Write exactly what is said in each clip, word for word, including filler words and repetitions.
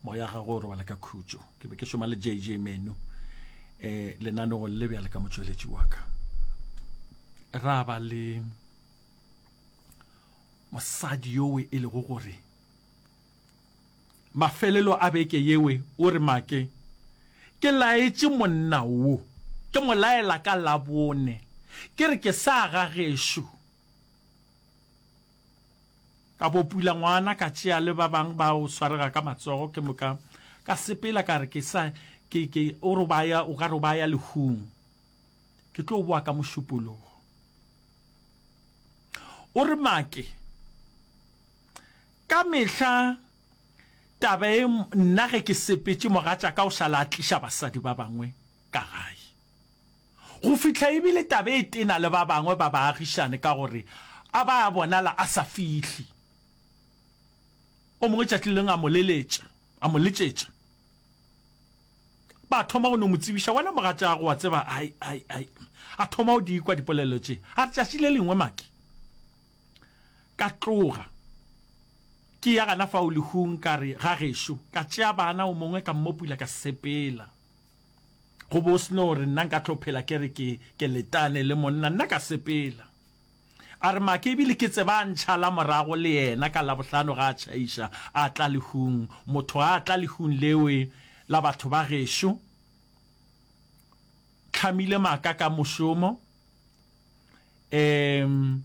Moya gagwe o robala ka khutšo. Ke be ke šoma le J J Menu um lenanegong le bjale ka motšweletši wa ka. Ra ba le mosadi yowe e lego gore mafelelo a beke yewe o re, "Make, ke laetše monna wo, ke mo laela ka Labone, ke re ke sa ga gešo, ka bo pula ngwana, ka tšea le ba bang ba o swarega ka matsogo, ke moka ka sepela, ka re ke sa ke ke o re ba ya, o ka re ba ya lehung, ke tlo boa ka Mošupologo." O re, "Make, ka mehla taba e nna ge ke sepetše, mogatša ka o šala a tliša basadi ba bangwe ka gae, go fihla ebile taba e tena le ba bangwe ba baagišane ka gore a ba a bonala a sa fihle." O mongwe tšatši leng a mo leletša, a mo letšetša, ba thoma go no mo tsebiša, "Wena mogatšago wa tseba, ai ai ai." A thoma go di kwa dipolelo tše. A re, "Tšatši le lengwe, Make, ka tloga ke ya gana fao lehung, ka re ga gešo, ka tšea bana, o mongwe ka mmopula, ka sepela, go bo se no re nna nka tlo phela ke re ke ke letane le monna, nna ka sepela." A re, "Make, ebile ke tseba a ntšhala morago le yena ka Labohlano ga a tšhaiša a tla lehung, motho a tla lehung lewe la batho ba gešo, tlhamile maaka ka mošomo." um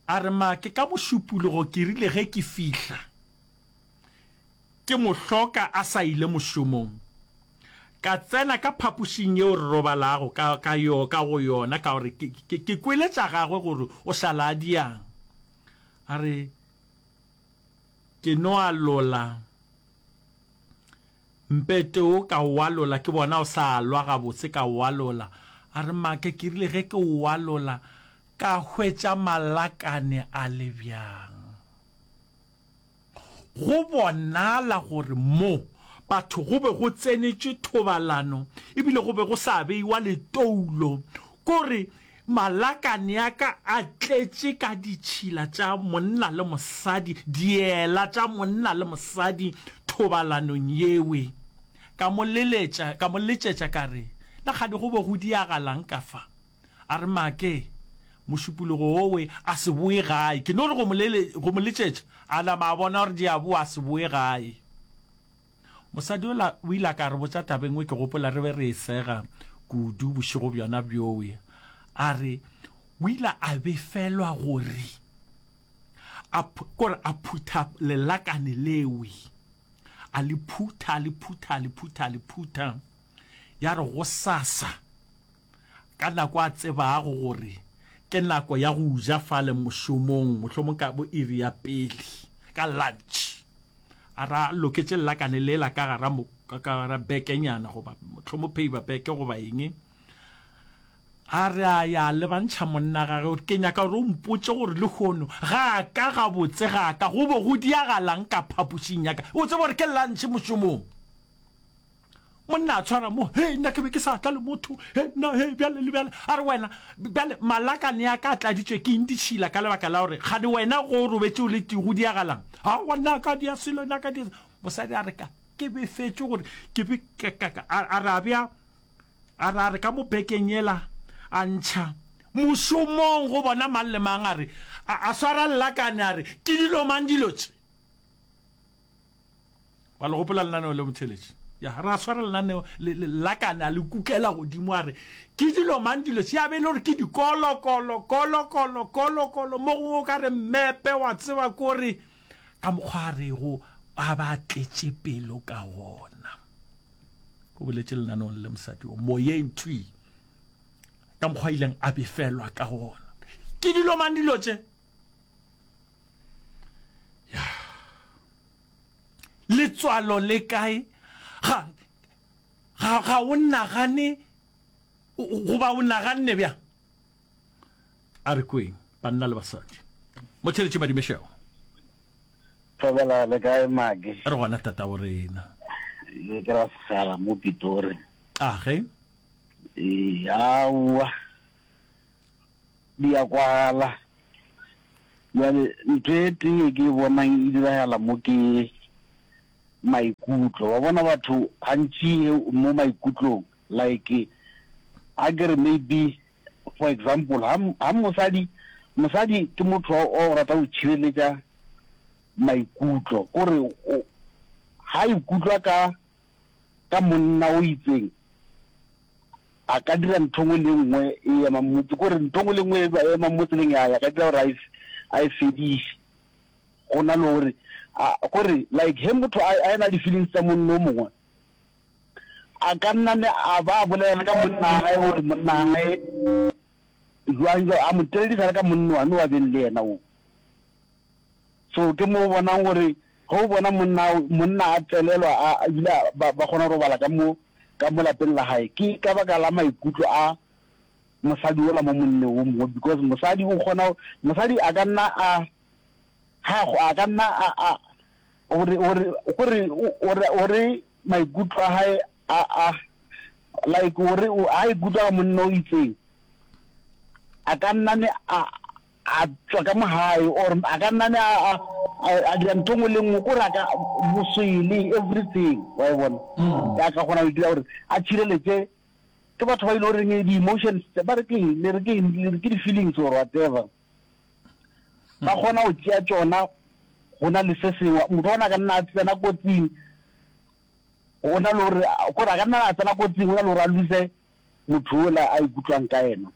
a re, "Make, ka Mošupologo ke rile ge ke fihla ke mo hloka a sa ile mošomong, ka tsena ka phapošing yeo re robalago ka, ka, yo, ka go yona, ka gore ke, ke, ke kwele tša gagwe gore o šala a diang." A re, "Ke no alola mpete o, ka o alola, ke bona o sa alwa gabotse, ka o alola." A re, "Make, ke rile ge ke o alola, ka hwetša malakane a le bjang, go bonala gore mo batho go be go tsenetšwe thobalano, ebile go be go sa beiwa letoulo, kore malakane a ka a tletše ka ditšhila tša monna le mosadi, diela tša monna le mosadi thobalanong yewe. Ka mo leletša, ka mo letšetša, ka re, na kgane go be go diagalang ka fa?" A re, "Make, Mošupologo owe a se boe gae. Ke no re go mo lele, go mo letšetša, a nama a bona gore di a boa, a se boe gae." Mosadi ola o ile a ka re botša taba e nngwe, ke gopola re be re e sega kudu bošego bjona bjowe. A re o ile a befelwa gore a, kore a phutha lelakane lewe, a le phutha, a le phutha, a le phutha, a le phutha, ya re gosasa ka nako a tsebago gore ke nako ya go ja fale mošomong, mohlomong ka bo iri ya pele ka lunch, a ra loketše lelakane lela ka gara mo, ka gara bekenyana goba mohlomong paper bag goba eng. A re a ya lebantšha monna gage gore, "Ke nyaka gore o mpotše gore lehono ga ka gabotse ga ka go be go diagalang ka phapošing ya ka, o tsebe gore ke lunch mošomong." Monna a tshwara mo, "He, nna ke be ke sa tla le motho, he nna, he bjale le bjale." A re, "Wena bjale malakane a ka a tladitšwe ke eng ditšhila ka lebaka la gore gane wena go o robetše o le tee, go diagalang?" "Aowa, nna ka dia selo, nna ka dia." Mosadi a re, "Ka ke befetše gore ke be a re a bea, a re a re ka mo bekeng yela, a ntšha mošomong go bona mang le mang." A re a swara lelakane, a re, "Ke dilo mang dilo tše?" Wa le gopola lenaneo le, motheletši? Ya re a swara lenaneo lelakane, a le kukela godimo, a re, "Ke dilo mang dilo tše?" Ya be e le gore ke dikolokolo, kolokolo, kolokolo, mo gongwe o ka re mmepe, wa tseba, kore ka mokgwa a rego a ba tletše pelo ka wona. O boletše lenaneong le mosadi o moyeng thwi ka mokgwa a ileng a befelwa ka gona, "Ke dilo mang dilo tše?" Ya letswalo le kae? Ga ga ga o nagane goba o naganne bjang? A re kweng banna le basadi. Motheletši, madumešego. Thobela, le kae, Maki? Re gona, tata wo rena. Ke ke ra segala mo Pitori. A ge? Ee, aowa. Di a kwagala. Bjale ntho e tee e ke e bonang e diragala mo ke Maikutlo, wa bona batho gantši mo maikutlong, like a ke re maybe for example, ha, ha mosadi, mosadi ke motho wa go rata go tšhireletša maikutlo, kore ha ikutlwa ka, ka monna o itseng, a ka dira ntho nngwe le nngwe e emang mo, kore ntho nngwe le nngwe e emang mo tseleng ya, ya ka dira gore a e, a e fediše. Go na le gore, a, kore like he motho a, a ena di-feelings tsa monna o mongwe, a ka nna ne a ba a bolela ka monna gae gore monna gae jwang jwang, a mo teledisa le ka monna wane wa beng le yena o. So ke mo o bonang gore ge o bona monna, monna a tselelwa, a, ebile ba, ba kgona go robala ka mo, ka mo lapeng la gae, ke ka baka la maikutlo a mosadi ola mo monneng o mongwe, because mosadi o kgona, mosadi a ka nna a, ha a ka nna a, a, gore, gore, gore, gore, gore maikutlo a hae a, a, like gore a ikutlwa ka monna o itseng, a ka nna ne a, a tswa ka mo hae, or a ka nna ne a, a, a dira ntho nngwe le nngwe, kore a ka boswele everything, wa e bona, a ka kgona go dira gore a tšhireletse ke batho ba ile goreng di-emotions, ba re ke eng, le re ke eng, le re ke di-feelings or whatever, ba kgona go tšea tšona go na le se sengwe. Motho ona a ka nna a tsena kotsing, go na le gore, kore a ka nna a tsena kotsing go na le gore a lose motho ola a ikutlwang ka yena.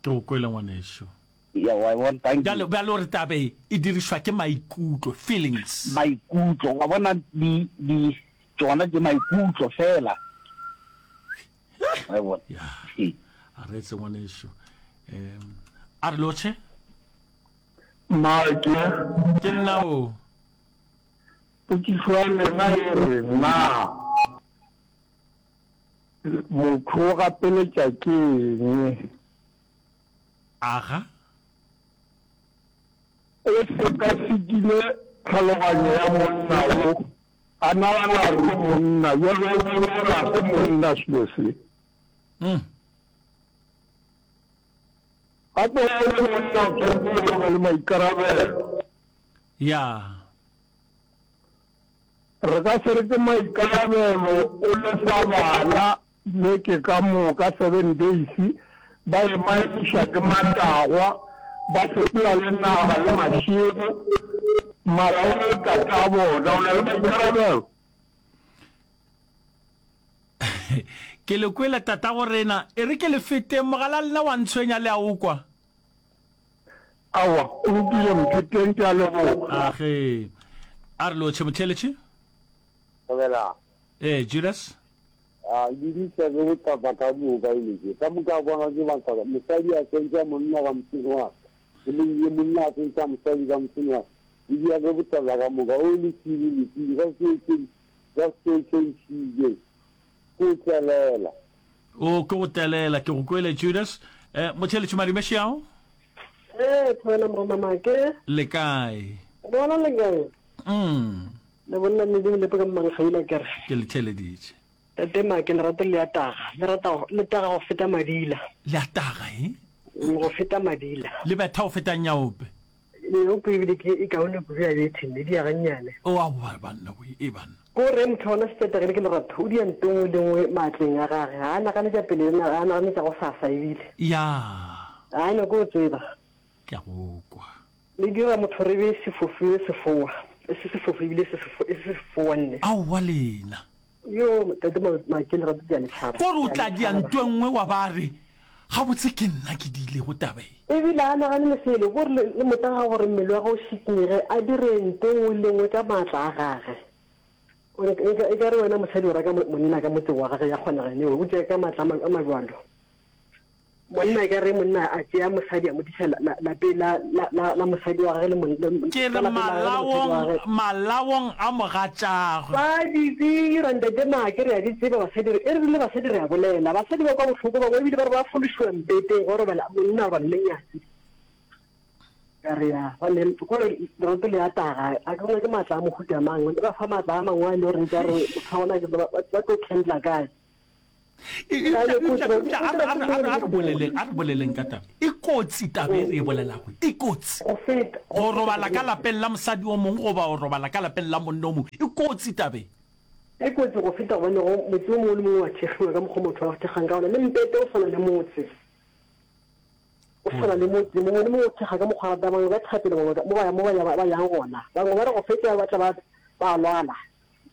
Ke go kwele ngwaneso. Ya, wa bona, thank you. Bjale, bjale gore tabe e dirišwa ke maikutlo, feelings. Maikutlo, wa bona, di, di, tšona ke maikutlo fela. Wa bona. Ya. A re etse ngwaneso. Um, a re lotšhe. Make. Ke nna o. Potšišo ya lena e re, na motho o gapeletša ke eng? Aga. O sekasekile tlhaloganyo ya monna wo, a nagana gore ke monna, bjale o bona gore ga se monna selo se. Mm. Gape o le monna o tshwanetse o be le maikarabelo. Ya. Re ka se re ke maikarabelo o lefa bana beke ka moka seven days, ba emaemiša ke matagwa, ba sepela le naga le mašego, mara o le tata bona, o na le maikarabelo. Ke le kwele tata go rena, e re ke le feteng mogala lena wa ntshwenya le a o kwa. Aowa, o lokile Mpheteng, ke a leboga. Age. A re lotšhe motheletše. Thobela. Eh, Judas. A lebisa ke botlapa ka moka ile ke ka moka bona ke matsaka mosadi a tsentša monna ka motseng wa ka le ye monna a tsentša mosadi ka motseng wa ka e dia ke botlapa ka moka o le tsiri le tsiri ka se ke ka se tšentšhile ko tselela O ke go telela, ke go kwele Judas. Eh, motheletše Madumešeao. Eh, thobela morena Make. Le kae? Bona le kae? Mm. Le bonna le le lepe ka mmankgaila kere. Ke le theleditše. Tate Make, lerato le a taga. Le rata le taga go feta madila. Le a taga, eh? Go feta madila. Le betha go feta nyaope. Nyaope ebile ke e kaone kudu ya betheng, le dia gannyane. O a wa banna we, e banna. Ko re motho ona setetagile ke lerato, o dia nto nngwe le nngwe maatleng a gage. Ga a nagane tša pele, ga a nagane tša go sasa ebile. Ya. Ga a nyake go tseba. Ke a go kwa. Le dira motho re be sefofu e sefoa, e se sefofu ebile se se sefoa nne. Aowa lena. Yo, tate Make, lerato ke a le tšhaba. Kore o tla dia nto e nngwe wa ba re, gabotse ke nna ke diilego taba e. Ebile a nagane le selo, kore le, le motsa ga gore mmele wa gagwe o šikinyege, a dire nto e nngwe le nngwe ka maatla a gage. E ka re wena mosadi o raka monna ka motseng wa gage, ya kgonega ene, o tšea ka maatla a mabjalo. Monna e ka re monna a tšea mosadi a mo tliša lapeng la, la, la, la mosadi wa gage le mon, le, Ke ka re lapeng la gage le mosadi wa malaong, gage. malaong a mogatšagwe. Ba di dira, Ntate Make, re a di tseba basadi, re, e re le basadi re a bolela. Basadi ba kwa bohloko, bangwe ebile ba re ba fološiwa mpeteng go robala monna goba mmenyatsi. Ka re ya, ba ne, kore lerato le a taga, a ke bona ke maatla a mohuta mang, le ba fa maatla a mangwe a e le gore ka re motho wa gona ke ba, ba, ba tlo candla kae. Eupša, eupša a re, a re, a re, a re boleleng, a re boleleng ka taba. E kotsi taba e re e bolelago, e kotsi. Go feta, Go go feta robala ka go lapeng la mosadi o mongwe goba go robala ka lapeng la monna o mongwe, e kotsi taba e. E kotsi go feta gobane go motse o mongwe le mongwe wa thekgiwa ka mokgwa motho a thekgang ka gona, le mpete o swana le motse. O swana le motse, mongwe le mongwe o thekga ka mokgwa a ratang, bangwe ba thapelo, bangwe mo ba mo ba ya ba yang gona, bangwe ba re go fetša ba tla ba ba lwala.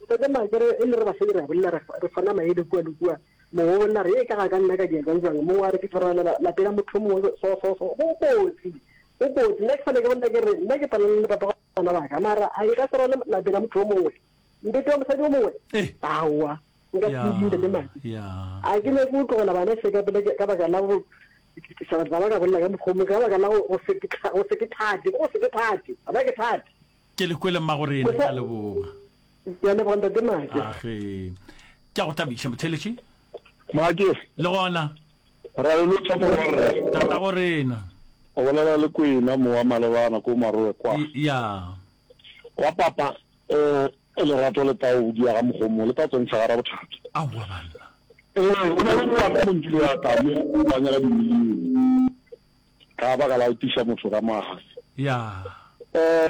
Ntate Makere, e le re basadi re a bolela re re fana maele kua le kua, mongwe o bolela re ee ka ga ka nna ka dia jwang jwang, mongwe a re ke tlo robala lapeng la motho o mongwe so so so, go kotsi, go kotsi. Nna ke fela ke bolela ke re nna ke palelwa le papa bana ba ka, mara a nka se robale lapeng la motho o mongwe, mpete wa mosadi o mongwe, Eh. aowa nka se Ya, di ntate Maki. ya. A ke nyake go tlogela bana se ka pele ka baka la go tliša batho ba ba ka bolela ka mokgwa o mongwe, ka baka la go se ke go se ke thate, go se ke thate, ga ba ke thate. Ke le kwele mmagorena, ke a leboga. Ke a leboga ntate Make. Age. Ke a go thabiša motheletši. Make. Le gona. Ra le lotšha morwarre. Tatago rena. O bolela le Kwena mo wa malebana ko Marowe kwa. Ya. Wa papa eh lerato le tau di ya ga mogomo le tla tsentšha gara bothata. Aowa banna. Ee, o na le ngwana mo nkile ya tla mo ba nyaka dimilione ka baka la go tiša motho ka moaga. Ya. Eh,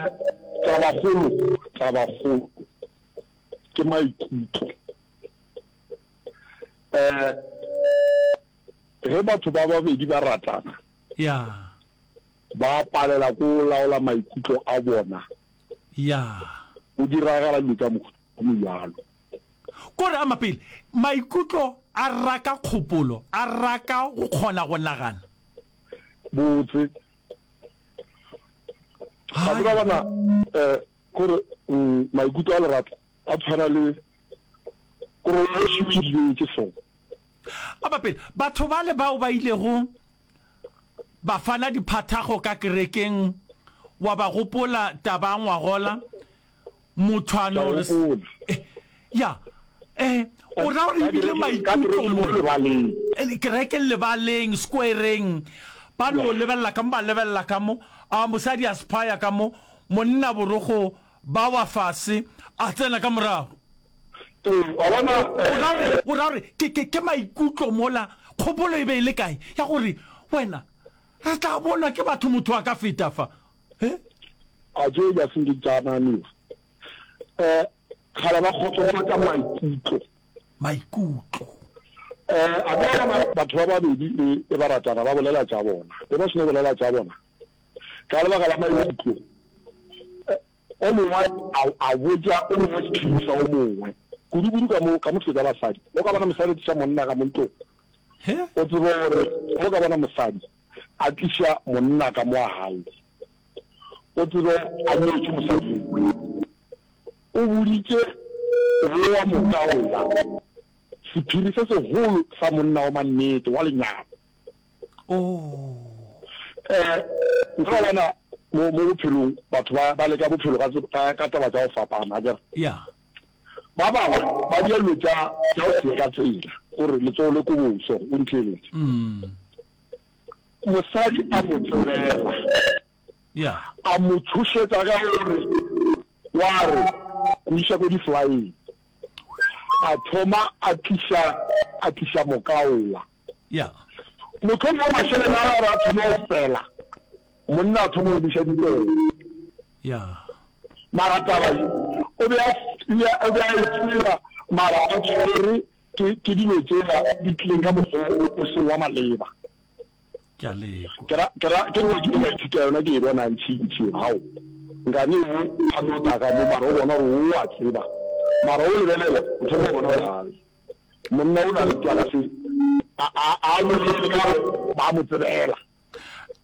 tabakgolo, tabakgolo ke maikutlo. Eh, ge batho ba babedi ba ratana, Ya. ba palela ko laola maikutlo a bona. Ya. Go diragala dilo tša mohuta o mobjalo. Kore a mapele, maikutlo a raka kgopolo, a raka go kgona go nagana. Botse. Ga tseba bana, eh, kore, mm, maikutlo a lerato a tshwana le korong e šiweditše so. A mapele, batho bale bao ba ilego ba fana diphathago ka kerekeng, wa ba gopola taba ya ngwagola, motho a no re, eh, ya, eh, o ra gore ebile maikutlo mo kerekeng lebaleng, squareng, ba no lebelela ka mo, ba lebelela ka mo, a mosadi a sephaya ka mo, monna borokgo ba wa fase, a tsena ka morago. Ee, wa bona, O ra gore, o ra gore ke, ke, ke maikutlo mola, kgopolo e be e le kae ya gore wena, re tla bonwa ke batho motho a ka feta fa, he? A tšeo di a se nke tša naganiwa. Eh, kgale ba kgotsofatša maikutlo. Maikutlo. Eh, a ka bona batho ba babedi e, e ba ratana, ba bolela tša bona. E ba seno bolela tša bona, ka lebaka la maikutlo, eh, o mongwe a, a botša o mongwe sephiri sa o mongwe. Kudu-kudu ka mo, ka mo tša basadi. O ka bona mosadi a tliša monna ka mo ntlong. He? O tsebe gore o ka bona mosadi a tliša monna ka mo gae. O tsebe a nyetše mosadi yo. O boditše wo wa moka ola sephiri se segolo sa monna wa mannete wa lenyalo. Oh. Eh, nka bona mo, mo bophelong batho ba, ba leka bophelo ka, ka, ka taba tša go fapana, akere? Ya. Ba bangwe ba dira dilo tša, tša go se ye ka tsela, gore letsogo le koboso, o ntheeletše. Mm. Mosadi a mo tsebela. Ya. A mo tšhošetša ka gore wa re go iša ko di-flyeng. A thoma a tliša, a tliša mokaola. Ya. Mohlomongwe mašeleng a gagwe a thoma go fela, monna a thoma go buša dipele. Ya. Mara taba ye o be a, o be a e tseba, mara a tshwere ke, ke dilo tšela di tlileng ka mokgwa o seng wa maleba. Ke a lekwa. Ke ra, ke ra, ke nngwe ke ile ka ithuta yona, ke e bona ntši-ntši. Hao, nkane wo a no tla ka mo, mara o bona gore o a tseba. Mara o lebelela, o thoma go bona gore hai, monna o na le twala se, a, a, a bolele ka gore ba mo tsebela.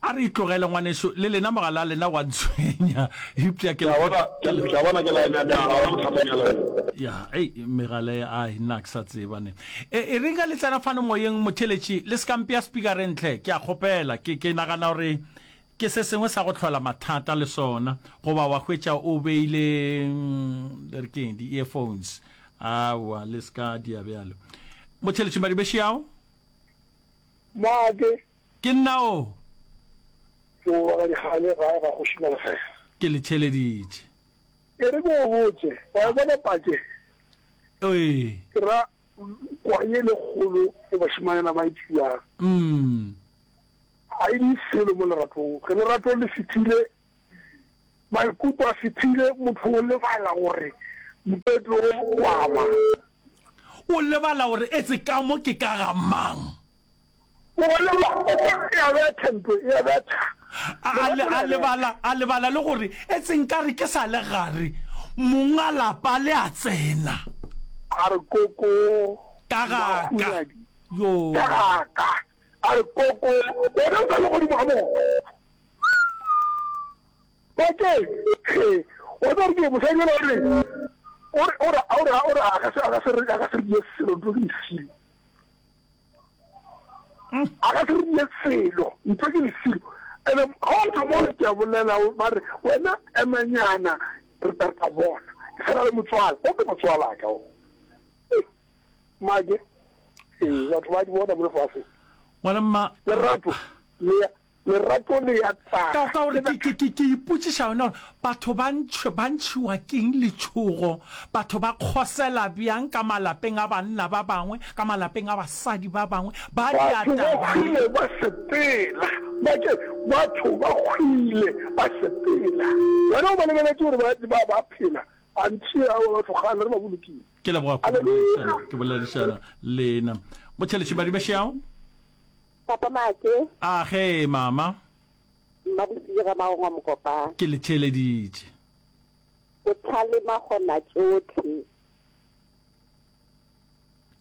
A re itlogele ngwaneso, le lena mogala a lena wa ntshwenya, eupša ke Ke a bona, ke le. Ke a bona ke line ya ka, ga gona bothata ka line. Ya, ei, megala e, ai, nna ke sa tseba ne. E, e reng ge le tsena fano moyeng, motheeletši, le se ka mpea speakereng hle, ke a kgopela. Ke, ke nagana gore ke se sengwe sa go hlola mathata le sona, goba wa hwetša o beile, mm, re ke eng, di-earphones. Aowa, le se ka dia bjalo. Motheeletši Madibeši ao? Make. Ke nna o. Ke o wa ga Dikgale gae ga Kgoši Malekgela. Ke le theeleditše. E re ke o botše, wa e bona patše? Ee. Ke ra, kwa ye le kgolo e bašemanyana ba e tšeang. Mm. Ga e di selo mo leratong. Ge lerato le fetile, maikutlo a fetile, motho o lebala gore mpeto o wa mang. O lebala gore etse ka mo ke ka ga mang. O lebala, o kwa e a betha ntlo, e a betha. A, a, le, a lebala, a lebala le gore etse nkare ke sa le gare, monga lapa le a tsena. A re koko, Ka ga ka. Mahunadi. Yoo. Ka ga ka. A re koko, wena o sa le godimo ga moo. Bakeng, he, wa tseba gore ke eng, mosadi yola o re, o re, o re, o re, o re, a ka se, a ka se re, a ka se re die selo, ntho ke lesilo. A ka se re die selo, ntho ke lesilo. Ene, ga o thoma o re ke a bolela, ba re, wena emanyana, re tla, re tla bona. Ke sa na le motswala, o ke motswala ka o. Make, ee, batho ba di bona mo lefaseng. Ngwana mma. Lerato le ya, lerato le ya Ka, tsaka. ka gore ke, ke, ke, ke ipotšiša yona gore batho ba ntšh, ba ntšhiwa keng letšhogo? Batho ba kgosela bjang ka malapeng a banna ba bangwe, ka malapeng a basadi ba bangwe? Ba dia Batho ba taba ye. hwile ba sepela. Make, batho ba hwile ba sepela. Wena o ba lebeletše gore ba, ba, ba phela. Antši ao batho kgale re ba bolokile. Ke leboga kudu boledišana, ke boledišana lena. Motšheletši Madibešiao. Papa Make. A ge, mama. Mmabosidi ga Magongwa Mokopane. Ke le theeleditše. Bohlale makgona tšohle.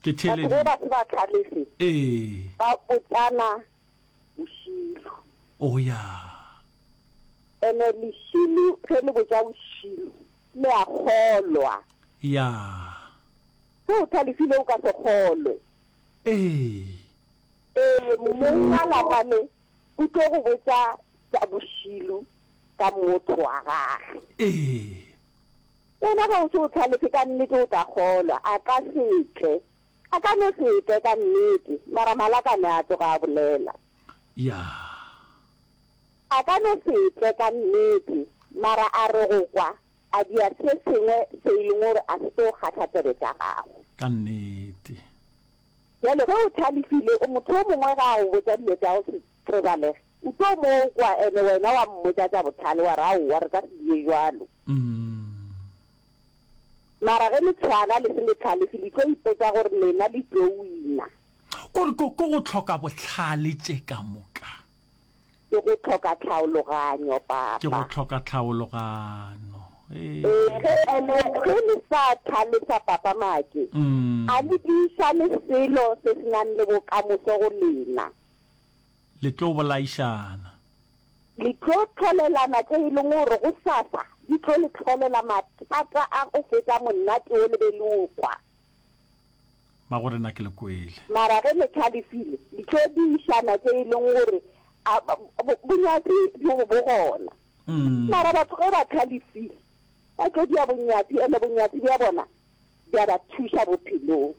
Ke Batho ge theeleditše. ba se ba hlalefe. Ee. Ba botšana bošilo. O ya. Ene lešilo ge le botša bošilo le a kgolwa. Ya. Ge o hlalefile o ka se kgolwe. Ee. Ee, mong wa lapa le o tlo go botša tša bošilo ka motho wa gage. Ee. Wena ge o se o hlalefe ka nnete o tla kgolwa. A ka se tle. A ka no se tle ka nnete, mara malakane a tloga a bolela. Ya. A ka no se tle ka nnete, mara a re go kwa, a dia se sengwe se e leng gore a se tlo kgahla tsebe tša gago. Ka nnete. Bjale ge o hlalefile, o motho yo mongwe ge a go botša dilo tša go se tsebalege, o tlo mo kwa, ene wena wa mmotša tša bohlale, wa re, Aowa, re ka se die bjalo. Mara ge le tshwana le se le hlalefe, le tlo ipotša gore lena le tlo wina. Ko re, ko, ko go hloka bohlale tše ka moka. Ke go hloka tlhaologanyo, Ke go Papa. hloka tlhaologanyo. Ee. Ee, ge ene, ge le sa hlalefa, Papa Make, a le tiišane selo se se nang le bokamoso go lena. Le tlo bolaišana. Le tlo hlolelana tše e leng gore gosasa di tlo le hlolela mathata a go feta monate wo le be le o kwa. Magorena ke le kwele. Mara ge le hlalefile, le tlo diišana tše e leng gore a, bo, bonyatsi bjo bo gona. Mara batho ge ba hlalefile, ba tlo dia bonyatsi, ene bonyatsi bja bona bja ba thuša bophelong.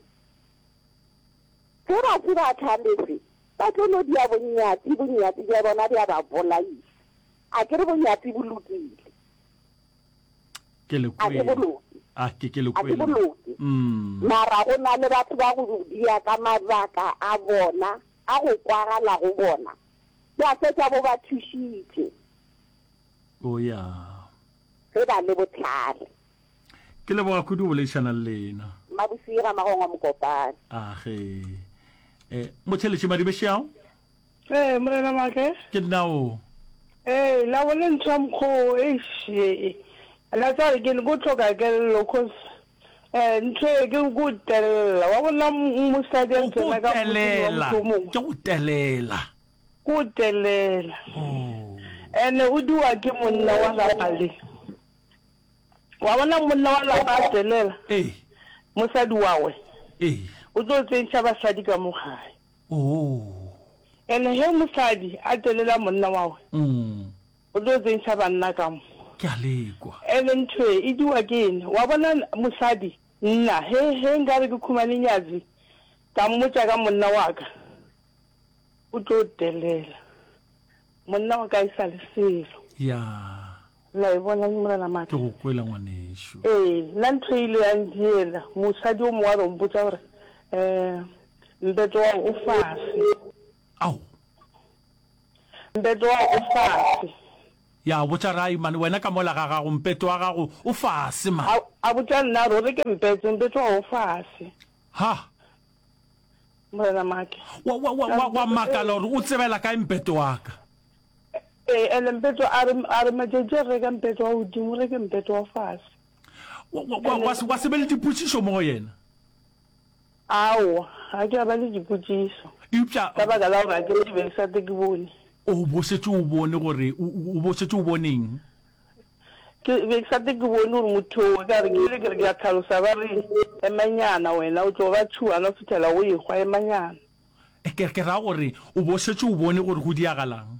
Ge ba se ba hlalefe, ba tlo no dia bonyatsi, bonyatsi bja bona bja ba bolaiša. A ke re bonyatsi bo lokile? Ke le A ke kwele. boloke. A ke ke le A ke kwele. boloke. Mm. Mara go na le batho ba go dia ka mabaka a bona, a go kwagala go bona, ba fetša bo ba thušitše. O ya. Ge ba le bohlale. Ke leboga kudu go boledišana le lena. Mabosiga Magongwa Mokopane. A ge. Eh, Motšheletši Madibešiao? Ee, Morena Make. Ke nna o. Ee, la bone ntho ya mokgwa o, eish, e, la tseba ke ko hloka kelello, cause, eh, ntho e ke ko telela. Wa bona mosadi a Ko tsena ka motseng wa telela, motho o mongwe. ke go telela. Ko telela. Oh. Ene o diwa ke monna wa lapa le. Wa bona monna wa lapa a telela. Ee. Mosadi wa we. Ee. O tlo tsentšha basadi ka mo gae. Oh. Ene he mosadi a telela monna wa we. Mm. O tlo tsentšha banna ka mo. Ke a lekwa. Ene ntho e, e diwa ke eng? Wa bona mosadi, nna, he, he nkare ke khumane nyatsi, ka mmotša ka monna wa ka, o tlo telela. Monna wa ka e sa le selo. Ya. La e bona, Morena Maaka? Ke go kwela, ngwanešu. Ee, nna ntho e ile ya ntiela. Mosadi o mongwe a re o mpotša gore, Eh, mpeto wa o fase. Ao. Mpeto wa o fase. Ya, botša Rai man, wena ka mola ga gago mpeto wa gago o fase man. A, a botša nna re o reke mpete, mpeto wa o fase. Ha. Morena Make. Wa, wa, wa, wa, wa makala gore o tsebela kae mpeto wa ka. Ee, ene mpeto a re, a re matšatši a re reka mpeto wa godimo, o reke mpeto wa fase. Wa, wa, wa, wa, wa se be le dipotšišo mo go yena? Aowa, ga ke a ba le dipotšišo. Eupša. Ka baka la gore ga ke re ke be ke sa tle ke bone. O bo šetše o bone gore, o, o bo šetše o bone eng? Ke be ke sa tle ke bone gore motho o, ka re ke ile ke re ke a hlalosa, ba re, Emanyana wena, o tlo ba tšhuana go fihlela o ehwa, emanyana. Ke, ke ra gore o bo šetše o bone gore go diagalang.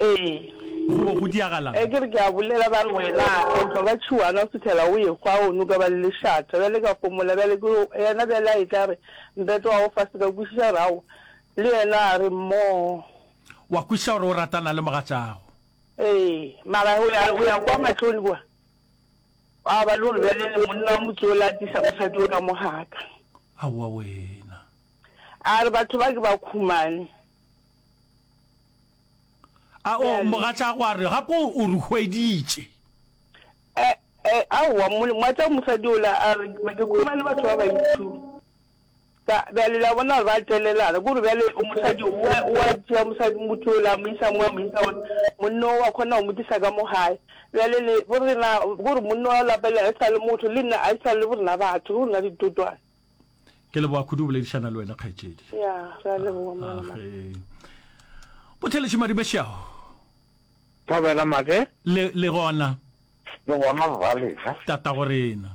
Ee. Go bo go diagalang. Ge ke re ke a bolela, ba re, Wena o tlo ba tšhuana go fihlela o ehwa, o no ka ba le lešata. Bjale ka homola. Bjale ke yena bjale a etla a re, Mpeto wa go fase. Ka kwešiša gore aowa. Le yena a re, Mmoo. Wa kwešiša gore o ratana le mogatšago. Ee, mara go ya, go ya kwa mahlong kua, gwa ba le gore bjale le monna wa motse ola a tlisa mosadi o ka mo ga ka. Aowa wena. A re, Batho ba ke ba khumane. A o, mogatšago a re, gape o, o re hweditše. E, e, aowa, mo, mogatša mosadi ola a re, Ke khumane batho ba bantši. Ka, bjale le a bona gore ba telelana. Ke gore bjale mosadi o a, o a tšea mosadi, motho yola a mo isa mo, a mo isa mo, monna o wa kgona go mo tlisa ka mo gae. Bjale le, bo rena, ke gore monna wa lapa le a e sa le motho, le nna a e sa le bo rena batho, ke rena ditotwana. Ke leboga kudu go boledišana le wena kgaetšedi. Ya, re a leboga Morena Maka. Age. Botheletši Madibešago. Thobela Make. Le, le gona. Le gona rralena. Tatago rena.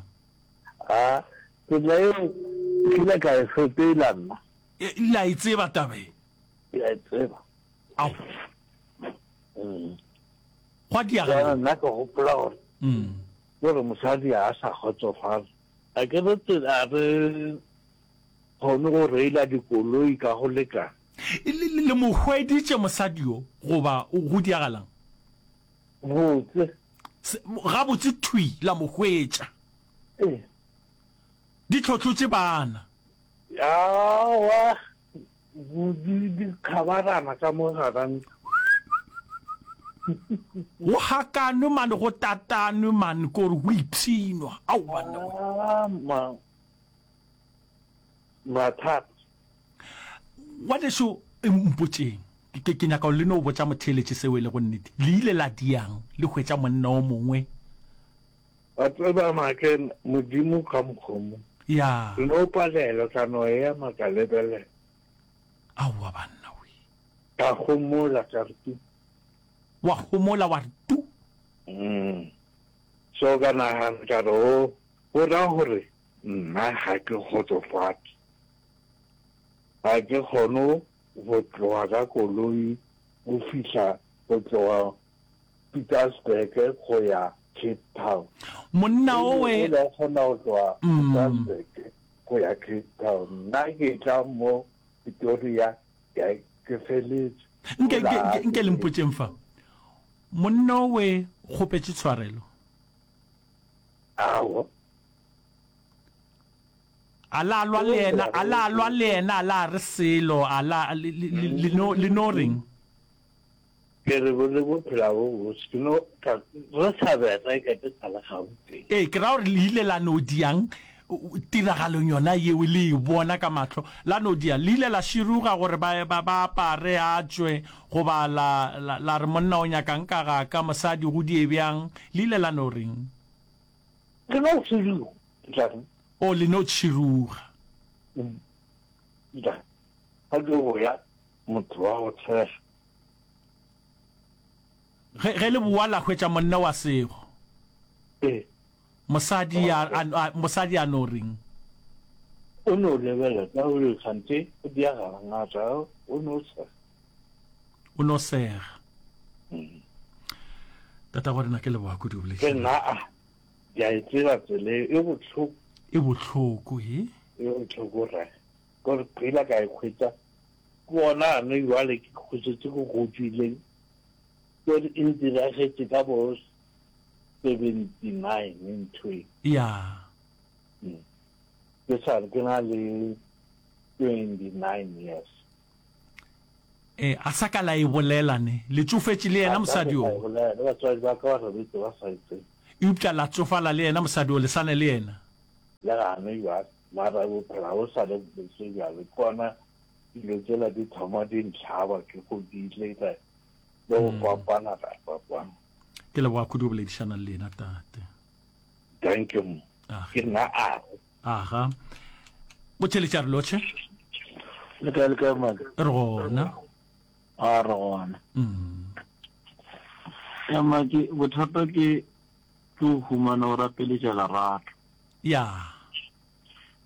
A, tsela eo nkile ka e sepela nna. E, le a e tseba taba e? Ke a e tseba. Ao. Mm. Gwa diagala. Bjale nna ke gopola gore Mm. ke gore mosadi a sa kgotsofala. A ke re tsela a re kgone go reila dikoloi ka go lekana. Le, le, le mo hweditše mosadi yo goba go diagalang? Botse. Se, gabotse thwi la mo hwetša. Ee. Di hlohlotše bana. Aowa, di, di kgabarana ka mo gara ntlo. Go hakanwe mane, go tatanwe mane, ko re go ipshinwa. Ao banna we. Ah, ma, mathata. Ngwanešu, mpotšeng, ke, ke nyaka le no botša motheeletši seo e lego nnete. Le ile la diang le hwetša monna o mongwe? Wa tseba, Make, Modimo ka mokgwa mo. Ya. Re no palelwa, ka no ema ka lebelela. Aowa banna we. Ka homola ka re tu. Wa homola wa re tu. Mm. So ka nagana ka re, oh, go ra gore nna ga ke kgotsofatše. Ga ke kgone go tloga ka koloi go fihla go tloga Pietersburg go ya Cape Town. Monna owe. O la kgona go tloga Pietersburg go ya Cape Town. Nna ke tla mo Pretoria ke feletše. Nke, nke, nke, nke le mpotšeng fa. Monna owe kgopetše tshwarelo? Aowa. A la lwa le yena, a la lwa le yena, a la re selo, a la, le, le, le, le no, le no reng? Ke re bo le bophela bo botse, ke no, ka, re sa bereka ke sa le Gauteng. Ee, ke ra gore le ile la no diang tiragalong yona yeo, le e bona ka mahlo, la no diang? Le ile la širuga gore ba, ba, ba apare a tšwe, goba la, la, la re monna o nyakang ka ga ka, mosadi go die bjang? Le ile la no reng? Re no širuga, ke tla reng? O, le no tšhiruga. Ke tla reng? Ga ke boya motho wa go tshega. Ge, ge le boa la hwetša monna wa sego. Ee. Mosadi a, a, a, mosadi a no reng? O no lebelela ka gore kganthe o diagala ngata, o no sega. O no sega. Tatago rena ke leboga kudu Ke nna a. Ke a e tseba tsela e, e bohloko. E bohloko, he? E bohloko, rra. Ke gore phela ka e hwetša, ke gona gane bjale ke hwetšetše ke godile, ke gore e ntiragetše ka bo seventy nine ntho e. Ya. Ke sa re ke na le Twenty nine years. E, a sa ka la e bolela ne? Le tšofetše le yena mosadi yo? A bolela, le batswadi ba ka ba robetse ba sa e tsebe. Eupša la tsofala le yena mosadi yo, le sa ne le yena? Le gane bjale, mara bophelo ga bo sa le bose bjale. Ke gona dilo tšela di thoma di ntlhaba, ke godile, le go fapana ra fapana. Ke leboga kudu go boledišana le lena, tate. Thank you mo. Ke nna Ago. Aga. Botheletša re lotšhe. Le kae le kae mane? Re gona. A re gona. Mm. Ya make bothata ke ke go humana o rapeletša lerato. Ya.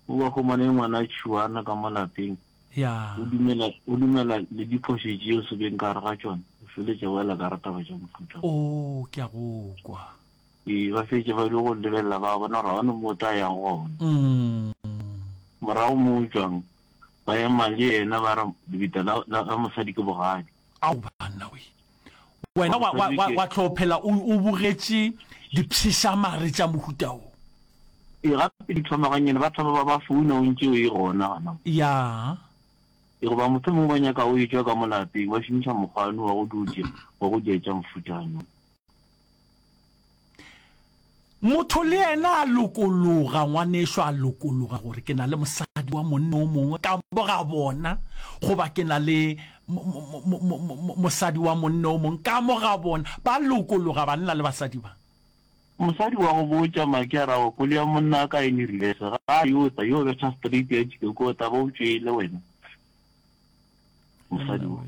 O ba humane ngwana tšhuana ka mo lapeng. Ya. O dumela o dumela le diphošo tšeo se beng ka gare ga tšona. O feletša o ela ka re taba tša mohuta. Oh, ke a go kwa. Ee, ba fetše ba dio go lebelela ba bona gore ga go na mo o tla yang gona. Morago mo o tšwang, ba ema le yena ba re lebitla la, la, la mosadi ke bogadi. Ao banna we! Wena wa, wa, wa, wa tlo phela o, o bogetše dipshešamare tša mohuta wo. Ee, gape di thoma gannyane, ba thoma ba ba founa o ntše o e gona gona mo. Ya. Ee, goba mohlomongwe ba nyaka o etšwa ka mo lapeng, ba šomiša mokgwa ono wa go dio tše, wa go dia tša mohuta ono. Motho le yena a lokologa, ngwanešo a lokologa gore ke na le mosadi wa monna o mongwe ka mo ga bona, goba ke na le mosadi wa monna o mongwe ka mo ga bona. Ba lokologa banna le basadi ba. Mosadi wa go botša Maki a ra gore koloi ya monna a ka e ne reverse, ga a yo tla, yo betha straight ya tšike ko tla ba o tšwele wena. Mosadi wo.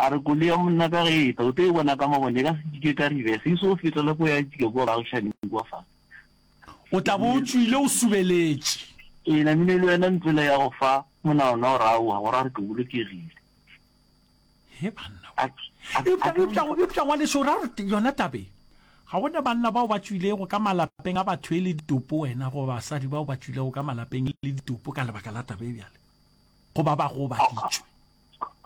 A re koloi ya monna ka ge e tla, o tlo e bona ka mabone, e ka se tšike ka reverse, e so fetele ko ya tšika kua baagišaning kua fase. O tla bo o tšwile o subeletše. Ee, namile le wena ntlo ya go fa monagano wa gore aowa, go ra gore ke bolokegile. He banna we. Eupša, eupša, eupša ngwanešu, o ra gore yona taba e, ga go na banna bao ba tšwilego ka malapeng a batho e le ditopo wena, goba basadi bao ba tšwilego ka malapeng e le ditopo ka lebaka la taba e bjale, goba ba gobaditšwe?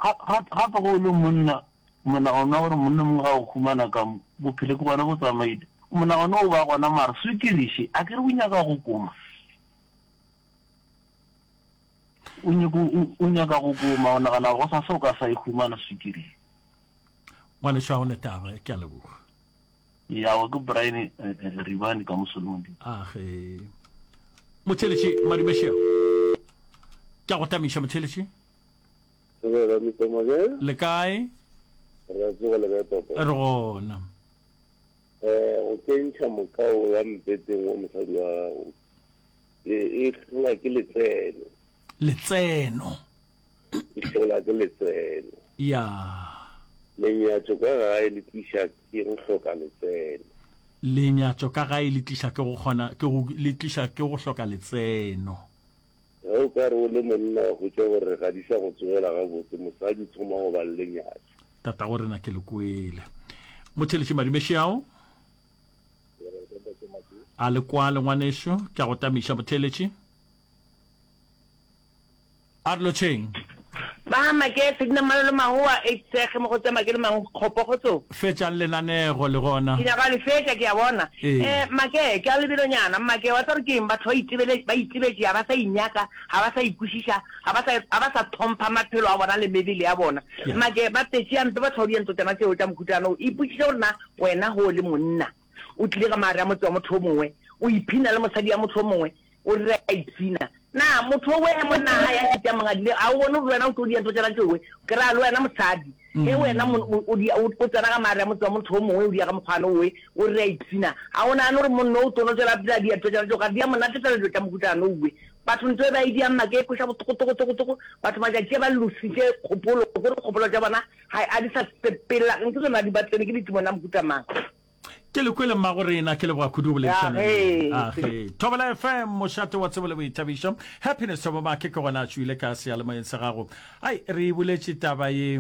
Gape ge o le monna, monagano wa gore monna mongwe ga o humana ka mo, bophelo ke gona bo tsamaile. Monagano o ba gona mara swikiri še, a ke re o nyaka go koma? O nyako, o nyaka go koma, o nagana gore gosasa o ka sa e humana swikiri. Ngwanešu ga go ne taba, ke a leboga. Yawa ke Brian Ribane ka mo Solomon. Age. Motheletši Madumešea. Ke a go tamiša motheletši. Thobela Mister Mabele. Le kae? Re a tsoga le kae papa? Re gona. Eh go kentšha mokao ya mpeteng wa mosadi wa gago e e hlola ke letseno. Letseno. E hlola ke letseno. Ya. Lenyatšo ka gae le tliša ke go hloka letseno. Lenyatšo ka gae le tliša ke go kgona ke go le tliša ke go hloka letseno. Ge o ka re o le monna wa hwetša gore ga di sa go tsogela gabotse, mosadi o thoma go ba le lenyatšo. Tatago rena ke le kwele. Motheletši Madumešeao. A le kwale ngwanešo, ke a go tamiša motheletši. A re lotšheng. Ba make Sedina Malolo Mahoa eight Sege mo go tse make le mang kgopo kgotsong. Fetšang lenanego le gona. Ke nyaka le fetša ke a bona. Ee. Eh make ke a lebelonyana make wa tseba gore ke eng batho ba itebele ba itebetše ga ba sa inyaka ga ba sa ikwešiša ga ba sa ga ba sa thompha maphelo a bona le mebele ya bona Yeah. make ba tetše hampe batho ba dientlo tšona tšeo tša mohutana o ipotšiše gore na wena ge o le monna o tlile ka maare a motse wa motho o mongwe o iphina le mosadi ya motho o mongwe O re a ipshina. Na motho owe ge monna a ya šetše a mongadile, a o bone gore le wena o tlo dia ntho tšela tšowe? Ke ra le wena mosadi, ge wena o dia, o tsena ka maare a motse wa motho o mongwe, o dia ka mokgwana owe, o re a ipshina, a o nagane gore monna o tlo no tšwela pele a dia ntho tšela tšeo? Ga di a mo natefela dilo tša mohutana owe. Batho ntho e ba e diang make e kweša bohloko toko toko toko. Batho matšatši a ba lositše kgopolo, ke gore kgopolo tša bona ga a di sa sepela, nke tsona di ba tsene ke ditimone a mohuta mang. Ke le kwele mmago rena, ke leboga kudu go boledišana le Age. Age. Thobela F M, mošate wa tsebo le boithabišo. Happiness Thobo Make ke gona a tšwile ka seyalemoyeng sa gago. Ai, re e boletše taba ye.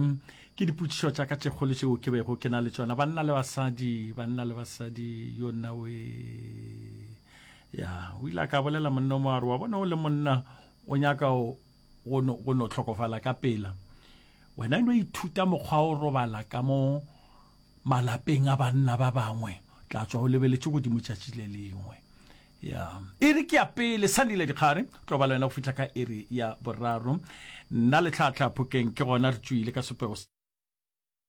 Ke dipotšišo tša ka tše kgolo tšeo ke bego ke na le tšona. Banna le basadi, banna le basadi, yo nna we. Ya, o ile a ka bolela monna o mongwe a re, wa bona o le monna o nyaka go no, go no hlokofala ka pela. Wena e no ithuta mokgwa o robala ka mo Malapeng a banna ba bangwe, tla tšwa o lebeletše godimo tšatši le lengwe. Ya iri ke ya pele, Sandile Dikgare tlo ba le wena go fihla ka iri ya boraro. Nna le Tlhahla Phokeng ke gona re tšwile ka sepego.